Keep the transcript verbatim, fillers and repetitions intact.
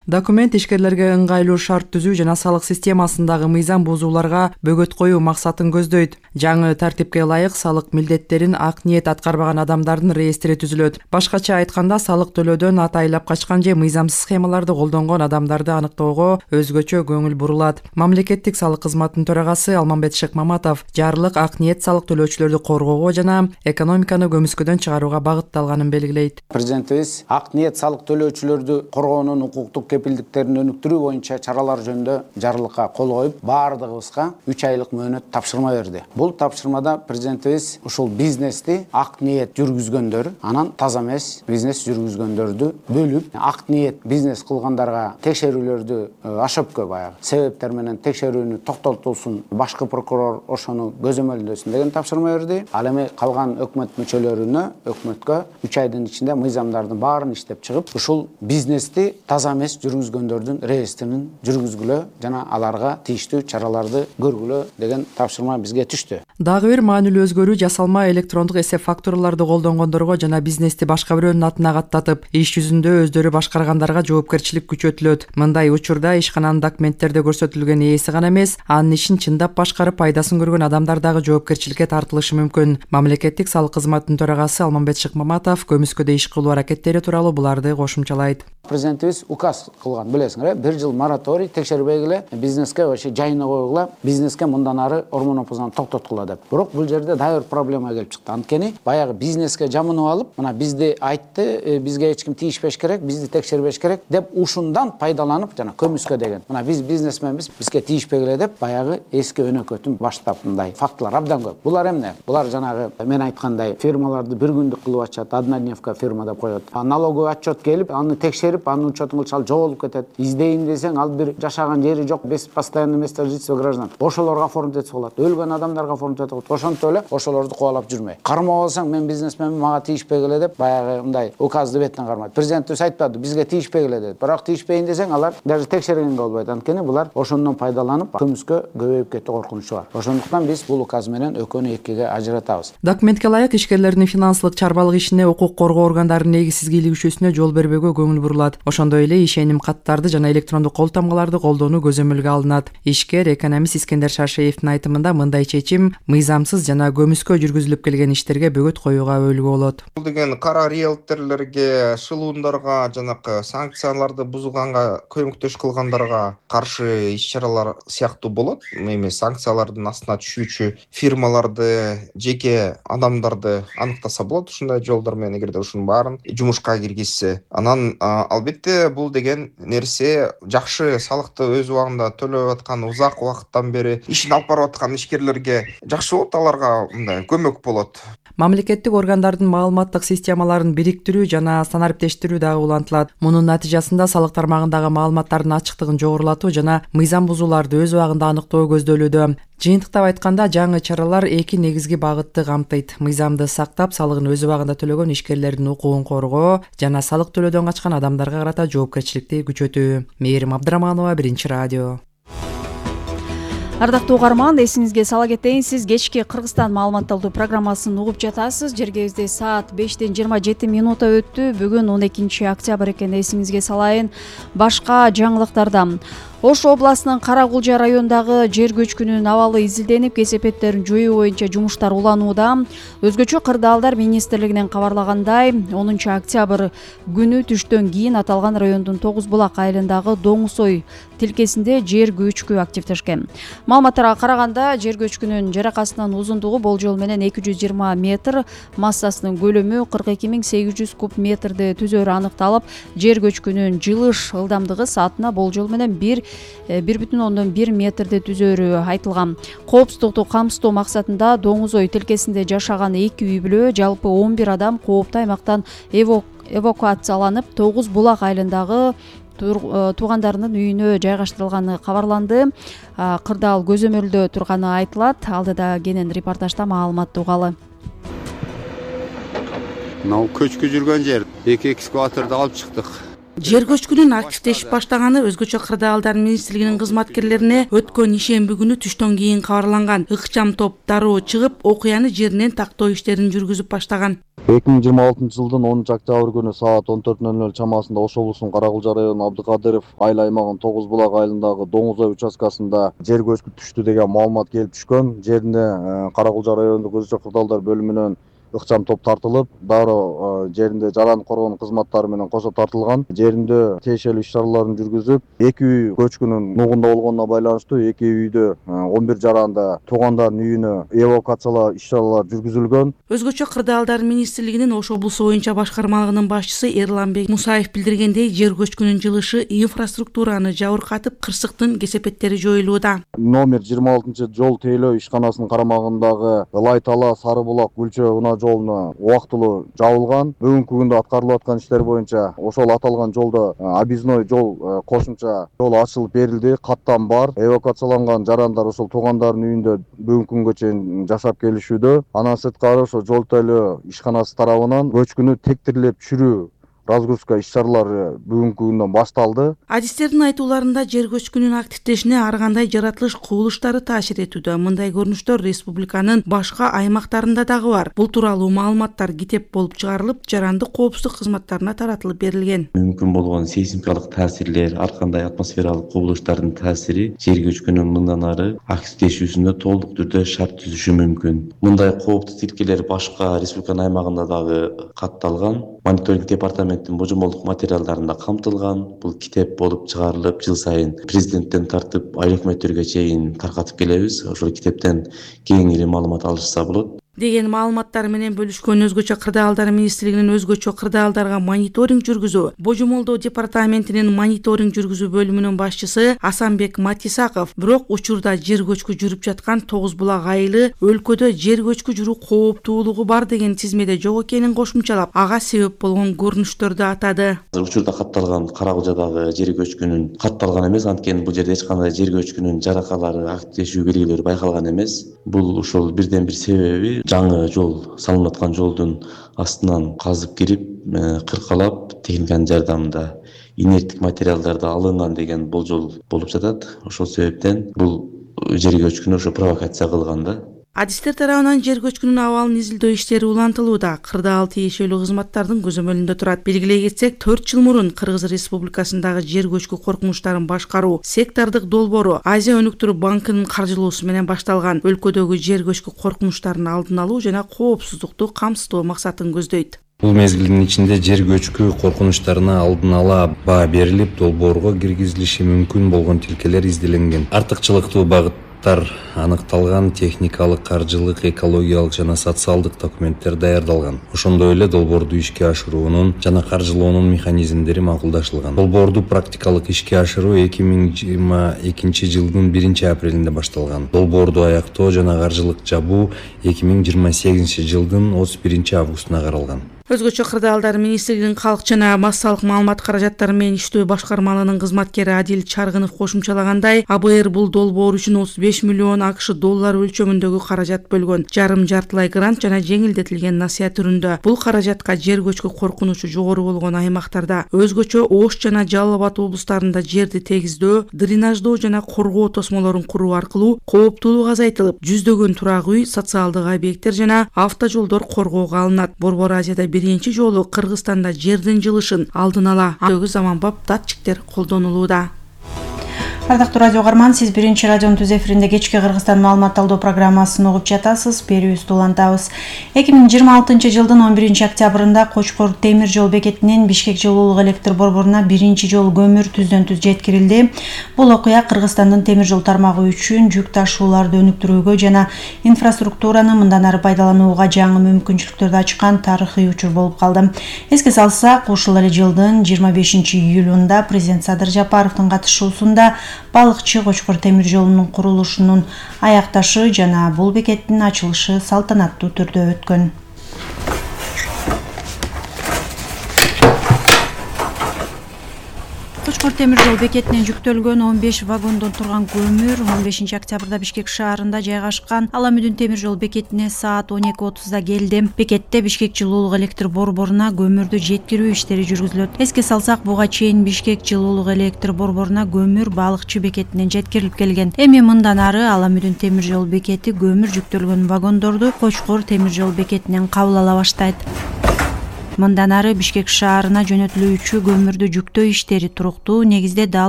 Документ ишкерлерге ыңгайлуу шарт түзүү жана салык системасындагы мыйзам бузууларга бөгөт коюу максатын көздөйт. Жаңы тартипке ылайык салык милдеттерин ак ниет аткарбаган адамдардын реестри түзүлөт. Башкача айтканда, салык төлөөдөн атайлап качкан же мыйзамсыз схемаларды колдонгон адамдарды аныктоого өзгөчө көңүл бурулат. Мамлекеттик салык кызматынын төрагасы Алмамбет Шыкмаматов жарлык ак ниет салык төлөөчүлөрдү коргоого жана экономиканы көмүскөдөн чыгарууга багытталганын белгилейт. Президентибиз ак ниет салык төлөөчүлөрдү коргоонун укуктук кепилдиктерин өнүктүрүү боюнча чаралар жөнүндө жарлыкка кол коюп, баардыгыбызга үч айлык мөөнөт тапшырма берди. Бул тапшырмада президентибиз ушул бизнести ак ниет жүргүзгөндөр, анан таза эмес бизнес жүргүзгөндөрдү бөлүп, ак ниет бизнес кылгандарга текшерүүлөрдү ашөпкө баягы себептер менен текшерүүнү токтотулсун, башкы прокурор ошону көзөмөлдөсүн деген тапшырма берди. Ал эми калган өкмөт мүчөлөрүнө, өкмөткө үч айдын ичинде мыйзамдардын баарын иштеп чыгып, ушул бизнести таза эмес жүргүзгөндөрдүн реестрин жүргүзгүлө жана аларга тийиштүү чараларды көргүлө деген тапшырма бизге түштү. Дагы бир маанилүү өзгөрүү жасалма электрондук эсеп фактураларды колдонгондорго жана бизнести башка бирөөнүн атына каттатып, иш жүзүндө өздөрү башкаргандарга жоопкерчилик күчөтүлөт. Мындай учурда ишкананын документтерде көрсөтүлгөн ээси гана эмес, анын ишин чындап башкарып пайдасын көргөн адамдар дагы жоопкерчиликке тартылышы мүмкүн. Мамлекеттик салык кызматынын төрагасы Алмамбет Шыкмаматов көмүскөдө иш кылуу аракеттери тууралуу буларды кошумчалайт. Президентибиз указ кылган, билесиңер, бир жыл мораторий текшербегиле, бизнеске вообще жайына койгула, бизнеске мындан ары ормон опузан токтоткула деп. Бирок бул жерде дагы бир проблема келип чыкты. Анткени баягы бизнеске жамынып алып, мына бизди айтты, бизге эч ким тийишпеш керек, бизди текшербеш керек деп ушундан пайдаланып жана көмүскө деген. Мына биз бизнесменбиз, бизге тийишпегиле деп баягы эски өнөкөтүн баштап мындай фактылар абдан көп. Булар эмне? Булар жанагы мен айткандай фирмаларды бир күндүк кылып ачат, однодневка фирма деп коет. Налоговый отчет келип, аны текшерип, анын учетун кылчал жоголуп кетет. Издейин десең, ал бир жашаган жери жок, без постоянного места жительства граждан. Ошолорго оформить этип коет. Өлгөн адамдарга оформить этип коет. Ошонтип эле ошолорду кубалап жүрмөй. Кармап алсаң, мен бизнесменмин, мага тийишпегиле деп баягы мындай указды беттен кармайт. Президентибиз айтпады, бизге тийишпегиле деп. Бирок тийишпейин десең, алар даже текшергенге болбойт. Анткени булар ошондон пайдаланып, көмүскө көбөйүп кетүү коркунучу бар. Ошондуктан биз бул указ менен экөөнү экиге ажыратабыз. Документке ылайык ишкерлердин финансылык чарбалык ишине укук коргоо органдарынын негизсиз кийлигишүүсүнө жол бербөөгө көңүл бурулат. Ошондой эле ишеним каттарды жана электрондук кол тамгаларды колдонуу көзөмөлгө алынат. Ишкер экономист Искендер Шаршеевдин айтымында мындай чечим мыйзамсыз жана көмүскө жүргүзүлүп келген иштерге бөгөт коюуга өбөлгө болот. Бул деген кара риэлторлорго, шылуундарга, жанакы санкцияларды бузганга көмөктөш кылгандарга каршы иш-чаралар сыяктуу болот. Эми санкциялардын астына түшүүчү фирмаларды, жеке адамдарды аныктаса болот. Ушундай жолдор менен эгерде ушунун баарын жумушка киргизсе, анан албетте бул деген нерсе жакшы салыкты өз убагында төлөп аткан, узак убакыттан бери ишин алып барып аткан ишкерлерге жакшы болот, аларга мындай көмөк болот. Мамлекеттик органдардын маалыматтык системаларын бириктирүү жана стандарттештирүү дагы улантылат. Мунун натыйжасында салык тармагындагы маалыматтардын ачыктыгын жогорулатуу жана мыйзам бузууларды өз убагында аныктоо көздөлүүдө. Жыйынтыктап айтканда, жаңы чаралар эки негизги багытты камтыйт. Мыйзамды сактап, салыгын өз убагында төлөгөн ишкерлердин укугун коргоо жана салык төлөөдөн качкан адамдарга карата жоопкерчиликти күчөтүү. Мээрим Абдыраманова, Биринчи радио. Ардактуу угарман, эсиңизге сала кетейин, сиз кечки Кыргызстан маалыматталдуу программасын угуп жатасыз. Жергебизде саат бештен жыйырма жети минута өттү. Бүгүн он экинчи октябрь экен, эсиңизге салайын. Башка жаңылыктардан. Ош областынын Каракулжа районундагы жер көчкүнүнүн абалы изилденип, кесепеттерин жоюу боюнча жумуштар уланууда. Өзгөчө кырдаалдар министрлигинен кабарлагандай, онунчу октябрь күнү түштөн кийин аталган райондун Тогуз булак айылындагы Доңуз ой тилкесинде жер көчкү активдешкен. Маалыматтарга караганда, жер көчкүнүн жаракасынын узундугу болжол менен эки жүз жыйырма метр, массасынын көлөмү кырк эки миң сегиз жүз куб метрди түзөрү аныкталып, жер көчкүнүн жылыш ылдамдыгы саатына болжол менен бир бир бүтүн ондон бир метрди түзөрү айтылган. Коопсуздукту камсыздоо максатында Доңуз ой тилкесинде жашаган эки үй бүлө, жалпы он бир адам кооптуу аймактан эвакуацияланып, Тогуз булак айылындагы туугандарынын үйүнө жайгаштырылганы кабарланды. Кырдаал көзөмөлдө турганы айтылат. Алдыда кенен репортажда маалыматты угалы. Мына көчкү жүргөн жер эки экскаваторду алып чыктык. Жер көчкүнүн активдешип баштаганы Өзгөчө кырдаалдар министрлигинин кызматкерлерине өткөн ишемби күнү түштөн кийин кабарланган. Ыкчам топ дароо чыгып, окуяны жеринен тактоо иштерин жүргүзүп баштаган. эки миң жыйырма алтынчы жылдын онунчу октябрь күнү саат он төрт нөл нөл чамасында Ош облусунун Каракулча району Абдыкадыров айыл аймагынын Тогуз булак айылындагы Доңуз ой участкасында жер көчкү түштү деген маалымат келип түшкөн. Жерине Каракулча райондук Өзгөчө кырдаалдар бөлүмүнөн ыкчам топ тартылып, дароо жеринде жаран коргонуу кызматтары менен кошо тартылган. Жеринде тиешелүү иш-чараларын жүргүзүп, эки үй көчкүнүн нугунда болгонуна байланыштуу эки үйдө он бир жаранда туугандардын үйүнө эвакуациялоо иш-чаралары жүргүзүлгөн. Өзгөчө кырдаалдар министрлигинин Ош облусу боюнча башкармалыгынын башчысы Эрланбек Мусаев билдиргендей, жер көчкүнүн жылышы инфраструктураны жабыркатып, кырсыктын кесепеттери жоюлууда. Номер жыйырма алтынчы жол тейлөө ишканасынын карамагындагы Ылай Тала Сары булак Гүлчө унаа жолуна убактылуу жабылган. Бүгүнкү күндө аткарылып аткан иштер боюнча ошол аталган жолдо объездной жол кошумча жол ачылып берилди. Каттам бар. Эвакуацияланган жарандар ошол туугандардын үйүндө бүгүнкү күнгө чейин жашап келишүүдө. Анан сырткары ошо жол тейлөө ишканасы тарабынан көчкүнү тектирлеп түшүрүү разгрузка иш-чаралары бүгүнкү күндөн башталды. Адистердин айтууларында жер көчкүнүн активдешине ар кандай жаратылыш кубулуштары таасир этүүдө. Мындай көрүнүштөр республиканын башка аймактарында дагы бар. Бул тууралуу маалыматтар китеп болуп чыгарылып, жарандык коопсуздук кызматтарына таратылып берилген. Мүмкүн болгон сейсмикалык таасирлер, ар кандай атмосфералык кубулуштардын таасири жер көчкүнүн мындан ары активдешүүсүндө толук түрдө шарт түзүшү мүмкүн. Мындай кооптуу тилкелер башка республиканын аймагында дагы катталган. Мониторинг департаменти божомолдук материалдарында камтылган. Бул китеп болуп чыгарылып, жыл сайын президенттен тартып айыл өкмөттөргө чейин таркатып келебиз. Ошол китептен кеңири маалымат алышса болот деген маалыматтар менен бөлүшкөн Өзгөчө кырдаалдар министрлигинин өзгөчө кырдаалдарга мониторинг жүргүзүү божомолдоо департаментинин мониторинг жүргүзүү бөлүмүнүн башчысы Асанбек Матисаков бирок учурда жер көчкү жүрүп жаткан Тогуз булак айылы өлкөдө жер көчкү жүрүү кооптуулугу бар деген тизмеде жок экенин кошумчалап, ага себеп болгон көрүнүштөрдү атады. Учурда катталган Каракулчадагы жер көчкүнүн катталган эмес, анткени бул жерде эч кандай жер көчкүнүн жаракалары, активдешүү белгилери байкалган эмес. Бул ошол бирден бир себеби жаңы жол салынып аткан жолдун астынан казып кирип, кыркалап техниканын жардамында инерттик материалдарды алынган деген болжол болуп жатат. Ошол себептен бул жер көчкүнү ошо провокация кылган да. Адистер тарабынан жер көчкүнүн абалын изилдөө иштери улантылууда. Кырдаал тиешелүү кызматтардын көзөмөлүндө турат. Белгилей кетсек, төрт жыл мурун Кыргыз Республикасындагы жер көчкү коркунучтарын башкаруу сектордук долбоору Азия өнүктүрүү банкынын каржылоосу менен башталган. Өлкөдөгү жер көчкү коркунучтарын алдын алуу жана коопсуздукту камсыздоо максатын көздөйт. Бул мезгилдин ичинде жер көчкү коркунучтарына алдын ала баа берилип, долбоорго киргизилиши мүмкүн болгон тилкелер изделенген. Артыкчылыктуу багыт аныкталган, техникалык, каржылык, экологиялык жана социалдык документтер даярдалган. Ошондой эле долбоорду ишке ашыруунун жана каржылоонун механизмдери макулдашылган. Долбоорду практикалык ишке ашыруу эки миң жыйырма экинчи жылдын биринчи апрелинде башталган. Долбоорду аяктоо жана каржылык жабуу эки миң жыйырма сегизинчи жылдын отуз биринчи августуна каралган. Өзгөчө кырдаалдар министрлигинин калк жана массалык маалымат каражаттары менен иштөө башкармалыгынын кызматкери Адил Чаргынов кошумчалагандай, А Б Р бул долбоор үчүн отуз беш миллион АКШ доллары өлчөмүндөгү каражат бөлгөн. Жарым жартылай грант жана жеңилдетилген насыя түрүндө. Бул каражатка жер көчкү коркунучу жогору болгон аймактарда, өзгөчө Ош жана Жалал Абад облустарында жерди тегиздөө, дренаждоо жана коргоо тосмолорун куруу аркылуу кооптуулук азайтылып, жүздөгөн турак үй, социалдык объекттер жана автожолдор коргоого алынат. Борбор Азияда биринчи жолу Кыргызстанда жердин жылышын алдын ала андөгү заманбап датчиктер колдонулууда. Ардактуу радио угарман, сиз биринчи радионун түз эфиринде кечки Кыргызстан маалымат алуу программасын угуп жатасыз. Берүүбүздү улантабыз. эки миң жыйырма алтынчы жылдын он биринчи октябрында Кочкор темир жол бекетинен Бишкек жылуулук электр борборуна биринчи жолу көмүр түздөн түз жеткирилди. Бул окуя Кыргызстандын темир жол тармагы үчүн жүк ташууларды өнүктүрүүгө жана инфраструктураны мындан ары пайдаланууга жаңы мүмкүнчүлүктөрдү ачкан тарыхый учур болуп калды. Эске салсак, ушул эле жылдын жыйырма бешинчи июлунда президент Садыр Жапаровдун катышуусунда балыкчы Кочкор темир жолунун курулушунун аякташы жана бул бекеттин ачылышы салтанаттуу түрдө өткөн. Кочкор темир жол бекетинен жүктөлгөн он беш вагондон турган көмүр он бешинчи октябрда Бишкек шаарында жайгашкан Ала Мүдүн темир жол бекетине саат он эки отузда келди. Бекетте Бишкек жылуулук электр борборуна көмүрдү жеткирүү иштери жүргүзүлөт. Эске салсак, буга чейин Бишкек жылуулук электр борборуна көмүр Балыкчы бекетинен жеткирилип келген. Эми мындан ары Ала Мүдүн темир жол бекети көмүр жүктөлгөн вагондорду Кочкор темир жол бекетинен кабыл ала баштайт. Мындан ары Бишкек шаарына жөнөтүлүүчү көмүрдү жүктөө иштери туруктуу негизде дал